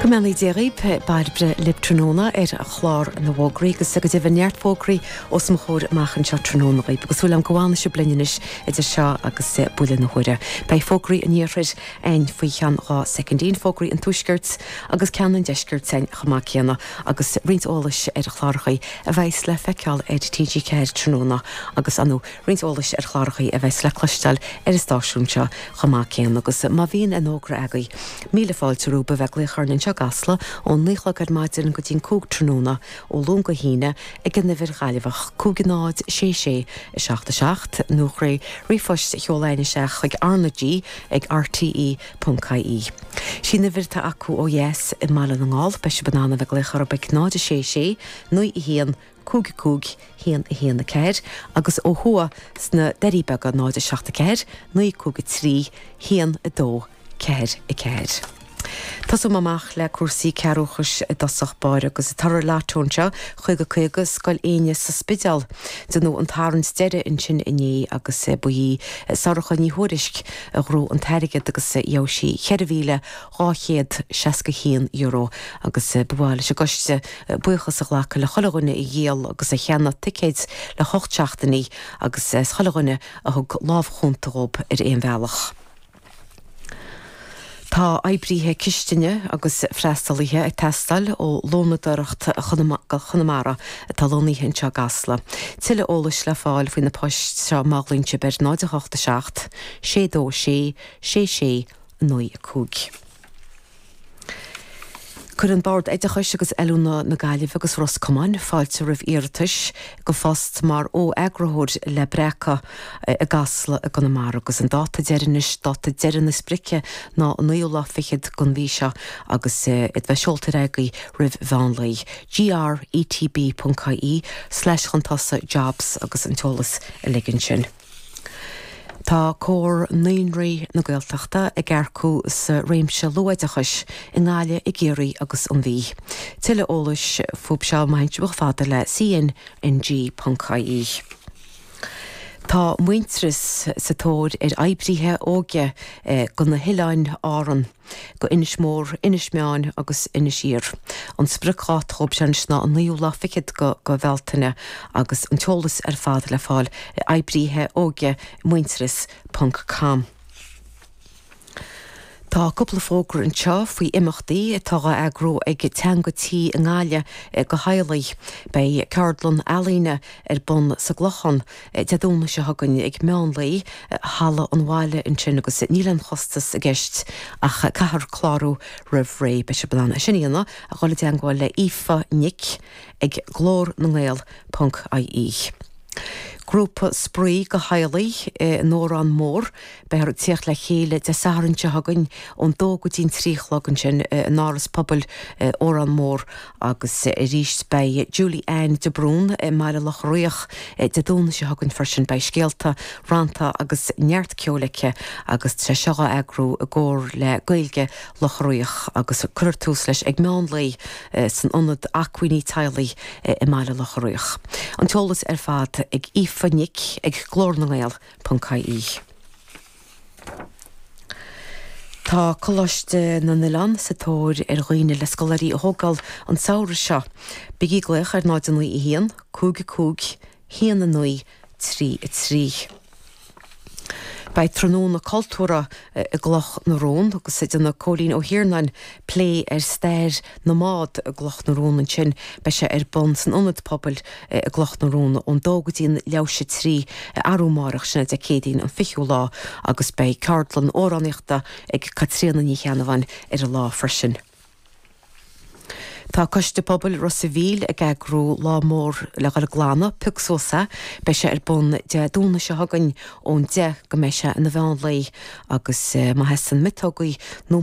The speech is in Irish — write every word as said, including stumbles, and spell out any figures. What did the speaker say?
Go mbeannaí Dia dhaoibh, Bairbre libh tráthnóna ar chlár na bhfógraí agus go deimhin neart fógraí os mo chomhair amach anseo tráthnóna dhaoibh agus súil agam go bhfanfaidh sibh linn anois idir seo agus buille na huaire. Beidh fógraí an iarthair againn faoi cheann dhá soicindín, fógraí an tuaiscirt agus ceann an deiscirt againn chomh maith céanna agus roinnt eolais ar chláracha a bheas le feiceáil ar TG Ceathair tráthnóna agus anú roinnt eolais ar chláracha a bheas le cloisteáil ar an stáisiún seo chomh maith céanna agus má bhíonn aon fhógra agaibh. Míle fáilte romhaibh a bheith ag glaoch orainn anseo i gCasla ón naoi a chlog ar maidin go dtí'n cúig tráthnóna ó Luan go hAoine ag an uimhir Ghaillimheach cúig náid sé sé a seacht a seacht nó trí ríomhphost a sheoladh isteach chuig RnaG ag RTE ponc IE. Sin uimhir atá acu ó dheas i mBaile na nGall, beidh sibh in ann a bheith ag glaoch orthu ag náid a sé sé naoi a haon cúig cúig haon a haon a ceathair agus ó thuaidh sna Doirí Beaga náid a seacht a ceathair naoi cúig a trí haon a dó ceathair a ceathair. Tosóidh mé amach le cúrsaí cearrbhachais i dtosach báire agus toradh lotto anseo caoga caoga Scoil Éinne sa Spidéal. Déanadh an tarraingt deiridh ansin inné agus ba í Sorcha Ní Thuairisg a ghnóthaigh an t-airgead agus gheobhaidh sí ceithre mhíle dhá chéad seasca haon euro agus ba mhaith leis an gcoiste buíochas a ghlacadh le chuile dhuine a dhíol agus a cheannaigh ticéid le hocht seachtainí agus chuile dhuine a thug lámh chúnta dhóibh ar aon bhealach. Tá oibrithe cistine agus freastalaithe ag teastáil ó Lónadóireacht Chonamara atá lonnaithe anseo i gCasla. Tuilleadh eolais le fáil faoi na poist seo má ghlaonn sibh ar náid a hocht a seacht, sé dó sé, sé sé, naoi a cúig. Cuireann Bord Oideachais agus Oiliúna na Gaillimhe agus Ros Comáin fáilte roimh iarratais go phost mar fho-eagarthóir le Breacadh i gCasla i gConamara agus an dáta deiridh anois, dáta deiridh na sprice ná an naoú lá fichead den mhí seo agus iad bheith seolta ar aghaidh roimh mheán lae. GRETB.ie slash chun tosaigh jobs agus an t-eolas uilig ansin. Tá Comhar Naíonraí na Gaeltachta ag earcú sa réimse luathoideachais i nGaillimh, i gCiarraí agus an Mhí. Tuilleadh eolais fúthu seo má théann sibh chomh fada le cnng.ie. Tá Muintearas sa tóir ar oibrithe óige go na hoileáin Árann, go Inis Mór, Inis Meáin agus Inis Oírr. An spriocdháta dhóibh sin ná an naoú lá fichead go go Bhealtaine agus an t-eolas ar fad le fáil oibrithe óige muintearas ponc com. Tá cúpla fógra anseo faoi imeachtaí atá á eagrú ag Teanga Tí i nGaillimh go theaghlaigh. Beidh ceardlann ealaíne ar bun sa gClochán Dé Domhnaigh seo chugainn ag meán lae halla an bhaile ansin agus níl aon chostas i gceist ach caithfear clárú roimh ré. Beidh sibh in ann é sin a dhéanamh a dhul i dteagmháil le Aoife Nic ag glór na ngael ponc IE. Grúpa spraoi go theaghlaigh in Órán Mór, beifear ag tíocht le chéile Dé Sathairn seo chugainn ón dó go dtí'n trí a chlog ansin in Áras Pobail Órán Mór agus arís beidh Julie Ann de Brún i mBaile Locha Riach Dé Domhnaigh seo chugainn freisin. Beidh scéalta, rannta agus neart ceoil aici agus tá sé seo á eagrú i gcomhar le Gaeilge Locha Riach agus cuirfear tús leis ag meán lae san Ionad Acmhainní Teaghlaigh i mBaile Locha Riach. An t-eolas ar fad ag Aoife Nic ag glór na ngael ponc IE. Tá Coláiste na nOileán sa tóir ar dhaoine le scoláirí a thógáil an samhradh seo. Bígí ag glaoch ar náid a naoi a haon, cúig a cúig, haon a naoi, trí a trí. Beidh tráthnóna cultúrtha i gCloch na Rón agus déanfaidh Cóilín Ó hIarnáin plé ar stair na mbád i gCloch na Rón ansin. Beidh sé ar bun san Ionad Pobail i gCloch na Rón ón dó go dtí an leathuair théis a trí arú amárach, sin é Dé Céadaoin an fichiú lá agus beidh ceardlann amhránaíochta ag Caitríona Ní Cheannabháin ar an lá freisin. Tá Coiste Pobail Ros a' Mhíl ag eagrú lá mór le dhul ag glanadh, pioc suas é. Beidh sé ar bun Dé Domhnaigh seo chugainn ón deich go mbeidh sé ina mheán lae agus má theastaíonn miotógaí nó